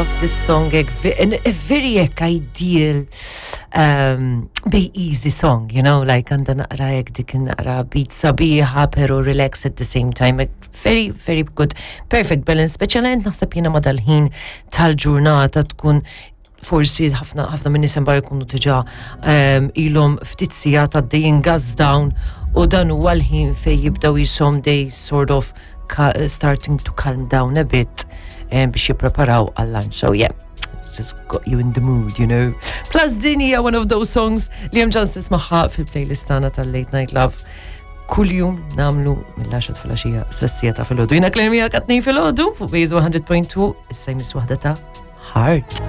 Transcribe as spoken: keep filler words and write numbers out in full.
This song, hekk, a very hekk ideal, um, very easy song, you know, like għandha naqra hekk dik naqra beat sabiħa, pero relax at the same time. Like, very, very good, perfect balance, speċjalment naħseb jiena ma dal-ħin tal-ġurnata tkun forsi ħafna ħafna minn nies bar ikunu diġà um, ilhom ftit sigħat għaddejjin gas down u dan huwa l-ħin fej jibdew jisom they sort of starting to calm down a bit um, biex jippreparaw għal-lunch. So yeah, just got you in the mood, you know. Plus din hija one of those songs li hemm ċans tismagħha fil-playlist tagħna tal-Late Night Love. Kuljum nagħmlu mill-għaxra filgħaxija sas-siegħa ta' filgħodu. Jiena Claire miegħek għat-tnejn filgħodu fuq Base one hundred point two, issa jmiss waħda ta' Heart.